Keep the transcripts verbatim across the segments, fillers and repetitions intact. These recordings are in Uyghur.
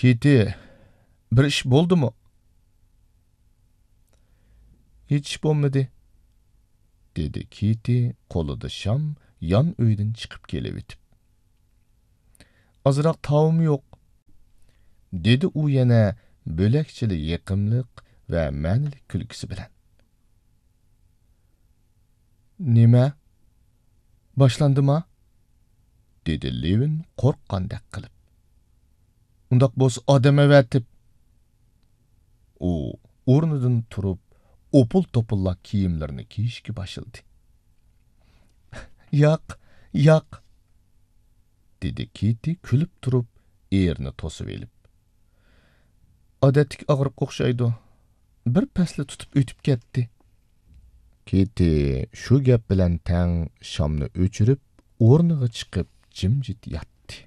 كېتى، بىر ئىش بولدىمۇ؟ ھېچ ئىش بولمىدى، دېدى كېتى قولىدا شام يان ئۆيدىن چىقىپ كېلىۋېتىپ. ئازراق تاۋۇم يوق، دېدى ئۇ يەنە بۆلەكچىلا يېقىملىق ۋە مەنىلىك كۈلكىسى بىلەن. نېمە؟ باشلاندىما؟ دېدى لېۋىن قورققاندەك قىلىپ. ئۇنداق بولسا ئادەم ئەۋەتىپ. ئۇ ئورنىدىن تۇرۇپ، ئوپۇل-توپۇللا كىيىملىرىنى كىيىشكە باشلىدى. ياق، ياق، دېدى كېتى كۈلۈپ تۇرۇپ، ئېرىنى توسۇۋېلىپ. ئادەتتىكى ئاغرىققا ئوخشايدۇ. بىر پەسلا تۇتۇپ ئۆتۈپ كەتتى. كېتى شۇ گەپ بىلەن تەڭ شامنى ئۆچۈرۈپ، ئورنىغا چىقىپ جىمجىت ياتتى.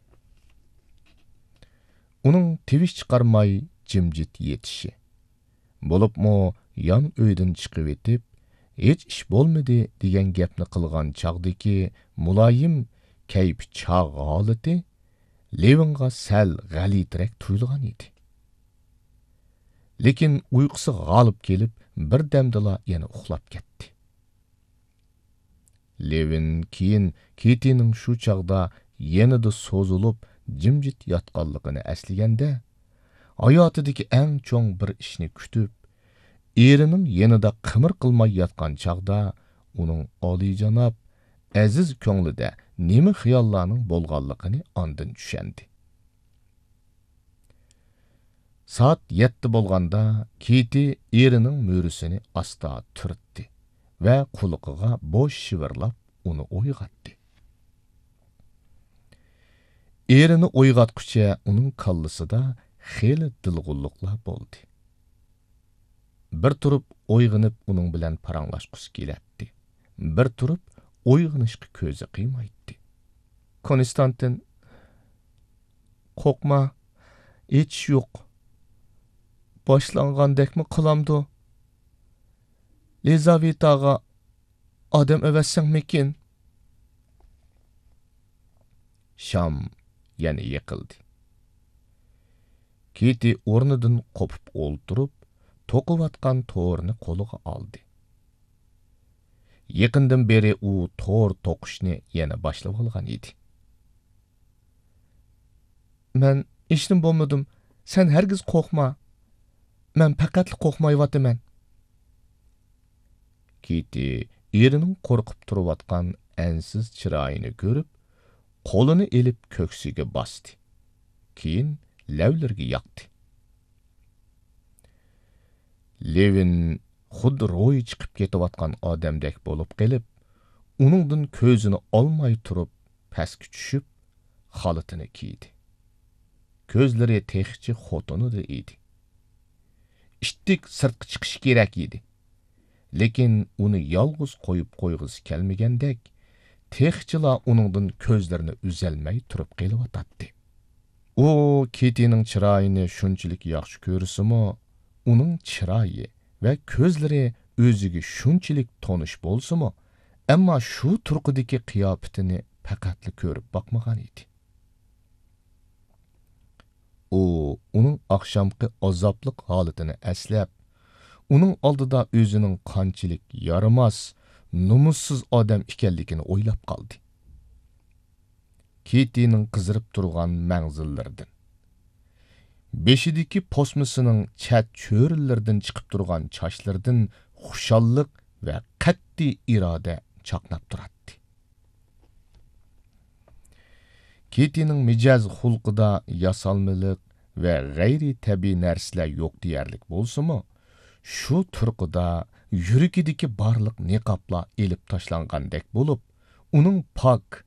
ئۇنىڭ تىۋىش چىقارماي جىمجىت يېتىشى، بولۇپمۇ يان ئۆيدىن چىقىۋېتىپ، ھېچ ئىش بولمىدى دېگەن گەپنى قىلغان چاغدىكى مۇلايىم، كەيپى چاغ ھالىتى لېۋىنغا سەل غەلىتىرەك تۇيۇلغان ئىدى. لېكىن ئۇيقۇسى غالىب كېلىپ، بىردەمدىلا يەنە ئۇخلاپ كەتتى. لېۋىن كېيىن كېتىنىڭ شۇ چاغدا يېنىدا سوزۇلۇپ، جىمجىت ياتقانلىقىنى ئەسلىگەندە، ھاياتىدىكى ئەڭ چوڭ بىر ئىشنى كۈتۈپ، ئېرىنىڭ يېنىدا قىمىر قىلماي ياتقان چاغدا ئۇنىڭ ئالىيجاناب، ئەزىز كۆڭلىدە نېمە خىياللارنىڭ بولغانلىقىنى ئاندىن چۈشەندى. سائەت يەتتە بولغاندا، كېتى ئېرىنىڭ مۈرىسىنى ئاستا تۈرتتى ۋە قۇلىقىغا بوش شىۋىرلاپ ئۇنى ئويغاتتى. ئېرىنى ئويغاتقۇچە ئۇنىڭ كاللىسىدا خېلى دىلغۇنلۇقلار بولدى. بىر تۇرۇپ ئويغىنىپ ئۇنىڭ بىلەن پاراڭلاشقۇسى كېلەتتى. بىر تۇرۇپ ئويغىنىشقا كۆزى قىيمايتتى. كونستانتىن، قورقما، ھېچ ئىش يوق. باشلانغاندەكمۇ قىلامدۇ؟ لىزاۋېتاغا ئادەم ئەۋەتسەڭمىكىن؟ شام يەنە يېقىلدى. كېتى ئورنىدىن قوپۇپ ئولتۇرۇپ، توقۇۋاتقان تورىنى قولىغا ئالدى. يېقىندىن بېرى ئۇ تور توقۇشنى يەنە باشلىۋالغان ئىدى. مەن ھېچنېمە بولمىدىم. سەن ھەرگىز قورقما. مەن پەقەتلا قورقمايۋاتىمەن. كېتى ئېرىنىڭ قورقۇپ تۇرۇۋاتقان ئەنسىز چىرايىنى كۆرۈپ، قولىنى ئېلىپ كۆكسىگە باستى. كېيىن لەۋلىرىگە ياقتى. لېۋىن خۇددى روھى چىقىپ كېتىۋاتقان ئادەمدەك بولۇپ قېلىپ، ئۇنىڭدىن كۆزىنى ئالماي تۇرۇپ، پەسكە چۈشۈپ، خالىتىنى كىيدى. كۆزلىرى تېخىچە خوتۇنىدا ئىدى. ئىتتىك سىرتقا چىقىشى كېرەك ئىدى. لېكىن ئۇنى يالغۇز قويۇپ قويغۇسى كەلمىگەندەك، تېخىچىلا ئۇنىڭدىن كۆزلىرىنى ئۈزەلمەي تۇرۇپ قېلىۋاتاتتى. ئۇ كېتىنىڭ چىرايىنى شۇنچىلىك ياخشى كۆرسىمۇ، ئۇنىڭ چىرايى ۋە كۆزلىرى ئۆزىگە شۇنچىلىك تونۇش بولسىمۇ، ئەمما شۇ تۇرقىدىكى قىياپىتىنى پەقەتلا كۆرۈپ باقمىغان ئىدى. ئۇ ئۇنىڭ ئاخشامقى ئازابلىق ھالىتىنى ئەسلەپ، ئۇنىڭ ئالدىدا ئۆزىنىڭ قانچىلىك يارىماس، نومۇسسىز ئادەم ئىكەنلىكىنى ئويلاپ قالدى. كېتىنىڭ قىزىرىپ تۇرغان مەڭزىلىرىدىن، بېشىدىكى پوسمىسىنىڭ چەت چۆرىلىرىدىن چىقىپ تۇرغان چاچلىرىدىن خۇشاللىق ۋە قەتئىي ئىرادە چاقناپ تۇراتتى. كېتىنىڭ مىجەز خۇلقىدا ياسالمىلىق ۋە غەيرىي تەبىئىي نەرسىلەر يوق دېيەرلىك بولسىمۇ، شۇ تۇرقىدا يۈرىكىدىكى بارلىق نىقابلار ئېلىپ تاشلانغاندەك بولۇپ، ئۇنىڭ پاك،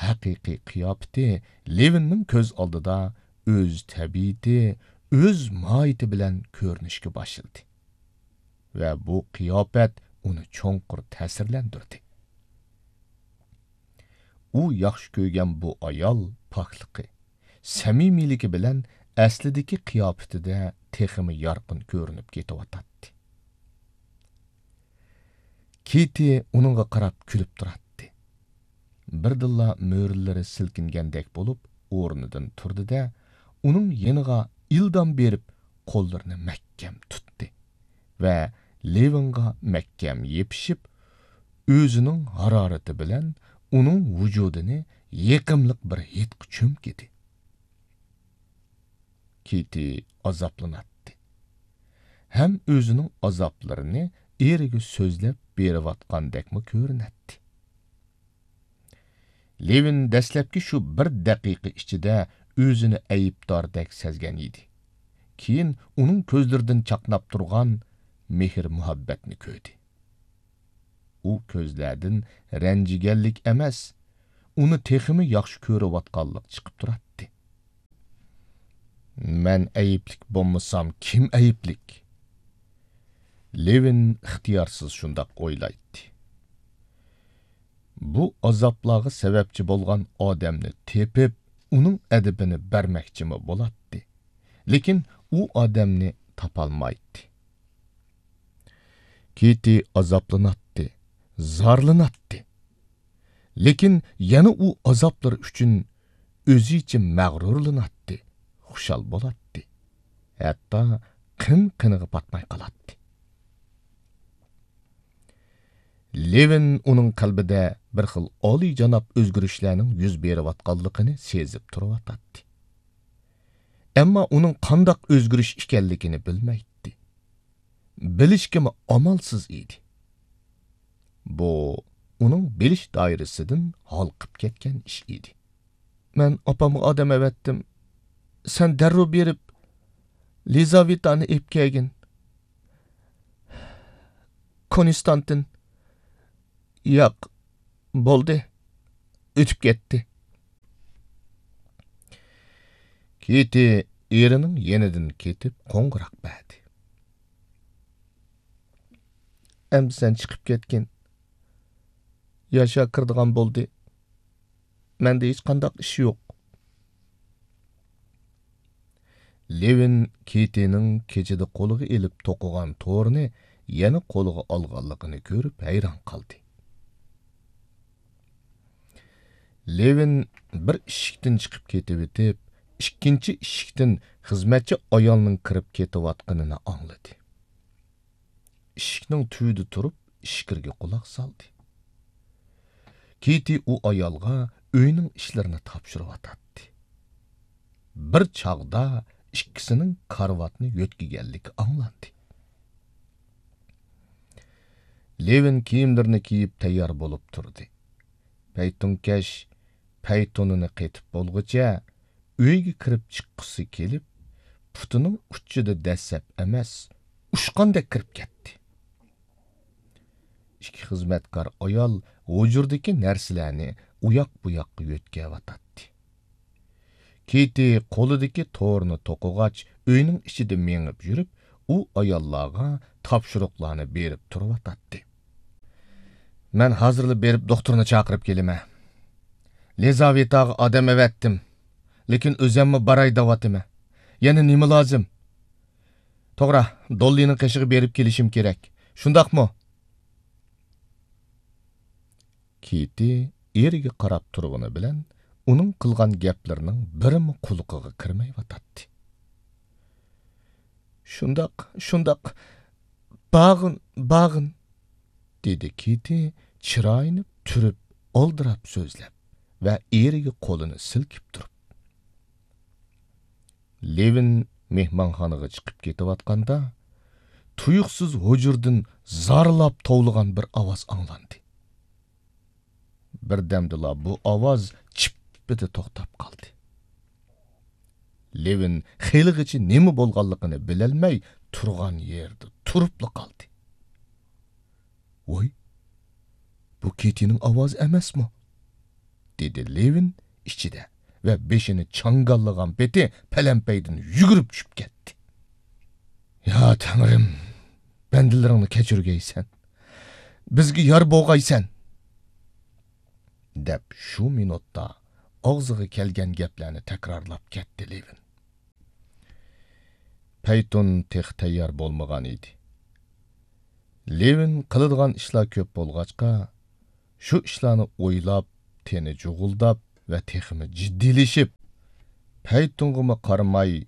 ھەقىقىي قىياپىتى لېۋىننىڭ كۆز ئالدىدا ئۆز تەبىئىتى، ئۆز ماھىيىتى بىلەن كۆرۈنۈشكە باشلىدى. ۋە بۇ قىياپەت ئۇنى چوڭقۇر تەسىرلەندۈردى. ئۇ ياخشى كۆرگەن بۇ ئايال پاكلىقى، سەمىمىيلىكى بىلەن ئەسلىدىكى قىياپىتىدە تېخىمۇ يارقىن كۆرۈنۈپ كېتىۋاتاتتى. كېتى ئۇنىڭغا قاراپ كۈلۈپ تۇراتتى. بىردىنلا مۈرىلىرى سىلكىنگەندەك بولۇپ ئورنىدىن تۇردى-دە، ئۇنىڭ يېنىغا ئىلدام بېرىپ قوللىرىنى مەھكەم تۇتتى ۋە لېۋىنغا مەھكەم يېپىشىپ، ئۆزىنىڭ ھارارىتى بىلەن ئۇنىڭ ۋۇجۇدىنى يېقىملىق بىر ھىدقا چۆمكىدى. كىتى ئازابلىناتتى ھەم ئۆزىنىڭ ئازابلىرىنى ئېرىگە سۆزلەپ بېرىۋاتقاندەكمۇ كۆرۈنەتتى. لېۋىن دەسلەپكى شۇ بىر دەقىقە ئىچىدە ئۆزىنى ئەيىبداردەك سەزگەن ئىدى. كېيىن ئۇنىڭ كۆزلىرىدىن چاقناپ تۇرغان مېھىر-مۇھەببەتنى كۆردى. ئۇ كۆزلەردىن رەنجىگەنلىك ئەمەس، ئۇنى تېخىمۇ ياخشى كۆرۈۋاتقانلىق چىقىپ تۇراتتى. مەن ئەيىبلىك بولمىسام، كىم ئەيىبلىك؟ لېۋىن ئىختىيارسىز شۇنداق ئويلايتتى. بۇ ئازابلارغا سەۋەبچى بولغان ئادەمنى تېپىپ، ئۇنىڭ ئەدىپىنى بەرمەكچىمۇ بولاتتى. لېكىن ئۇ ئادەمنى تاپالمايتتى. كىتى ئازابلىناتتى، زارلىناتتى. لېكىن يەنە ئۇ ئازابلىرى ئۈچۈن ئۆزىچە مەغرۇرلىناتتى، خۇشال بولاتتى. ھەتتا قىن-قىنىغا پاتماي قالاتتى. لېۋىن ئۇنىڭ قەلبىدە بىر خىل ئالىيجاناب ئۆزگىرىشلەرنىڭ يۈز بېرىۋاتقانلىقىنى سېزىپ تۇرۇۋاتاتتى. ئەمما ئۇنىڭ قانداق ئۆزگىرىش ئىكەنلىكىنى بىلمەيتتى. بىلىشكىمۇ ئامالسىز ئىدى. بۇ ئۇنىڭ بىلىش دائىرىسىدىن ھالقىپ كەتكەن ئىش ئىدى. مەن ئاپامغا ئادەم ئەۋەتتىم. سەن دەررۇ بېرىپ، لىزاۋېتانى ئېلىپ كەلگىن. كونستانتىن. ياق، بولدى. ئۆتۈپ كەتتى. كىتى ئېرىنىڭ يېنىدىن كېتىپ قوڭغۇراق بەردى. ئەمدى سەن چىقىپ كەتكىن. ياشا كىرىدىغان بولدى. مەندە ھېچقانداق ئىش يوق. لېۋىن كىتىنىڭ كېچىدە قولىغا ئېلىپ توقۇغان تورىنى يەنە قولىغا ئالغانلىقىنى كۆرۈپ ھەيران قالدى. لېۋىن بىر ئىشىكتىن چىقىپ كېتىۋېتىپ، ئىككىنچى ئىشىكتىن خىزمەتچى ئايالنىڭ كىرىپ كېتىۋاتقىنىنى ئاڭلىدى. ئىشىكنىڭ تۈۋىدە تۇرۇپ، ئىچكىرىگە قۇلاق سالدى. كىتى ئۇ ئايالغا ئۆينىڭ ئىشلىرىنى تاپشۇرۇۋاتاتتى. بىر چاغدا ئىككىسىنىڭ كارىۋاتنى يۆتكىگەنلىكى ئاڭلاندى. لېۋىن كىيىملىرىنى كىيىپ تەييار بولۇپ تۇردى. پەيتۇنكەش پەيتۇنىنى قېتىپ بولغۇچە، ئۆيگە كىرىپ چىققۇسى كېلىپ، پۇتىنىڭ ئۇچىدا دەسسەپ ئەمەس، ئۇچقاندەك كىرىپ كەتتى. ئىككى خىزمەتكار ئايال ھۇجرىدىكى نەرسىلەرنى ئۇياق-بۇياققا يۆتكەۋاتاتتى. كىتى قولىدىكى تورنى توقۇغاچ، ئۆينىڭ ئىچىدە مېڭىپ يۈرۈپ، ئۇ ئاياللارغا تاپشۇرۇقلارنى بېرىپ تۇرۇۋاتاتتى. مەن ھازىرلا بېرىپ دوختۇرنى چاقىرىپ كېلىمەن. لىزاۋېتاغا ئادەم ئەۋەتتىم، لېكىن ئۆزەممۇ باراي دەۋاتىمەن. يەنە نېمە لازىم؟ توغرا، دوللىنىڭ قېشىغا بېرىپ كېلىشىم كېرەك. شۇنداقمۇ؟ كىتى ئېرىگە قاراپ تۇرغىنى بىلەن ئۇنىڭ قىلغان گەپلىرىنىڭ بىرىمۇ قۇلىقىغا كىرمەيۋاتاتتى. شۇنداق، شۇنداق، باغىن، باغىن، دېدى كىتى چىرايىنى تۈرۈپ، ئالدىراپ سۆزلەپ ۋە ئېرىگە قولىنى سىلكىپ تۇرۇپ. لېۋىن مېھمانخانىغا چىقىپ كېتىۋاتقاندا، تۇيۇقسىز ھۇجرىدىن زارلاپ توۋلىغان بىر ئاۋاز ئاڭلاندى. بىردەمدىلا بۇ ئاۋاز چىپپىدە توختاپ قالدى. لېۋىن خېلىغىچە نېمە بولغانلىقىنى بىلەلمەي تۇرغان يېرىدە تۇرۇپلا قالدى. ۋاي، بۇ كېتىنىڭ ئاۋازى ئەمەسمۇ؟ دېدى لېۋىن ئىچىدە ۋە بېشىنى چاڭگاللىغان پېتى پەلەمپەيدىن يۈگۈرۈپ چۈشۈپ كەتتى. يا تەڭرىم، بەندىلىرىڭنى كەچۈرگەيسەن، بىزگە يار بولغايسەن! دەپ شۇ مىنۇتتا ئاغزىغا كەلگەن گەپلەرنى تەكرارلاپ كەتتى لېۋىن. پەيتۇن تېخى تەييار بولمىغان ئىدى. لېۋىن قىلىدىغان ئىشلار كۆپ بولغاچقا، شۇ ئىشلارنى ئويلاپ، تېنى جۇغۇلداپ ۋە تېخىمۇ جىددىيلىشىپ، پەيتۇنغىمۇ قارىماي،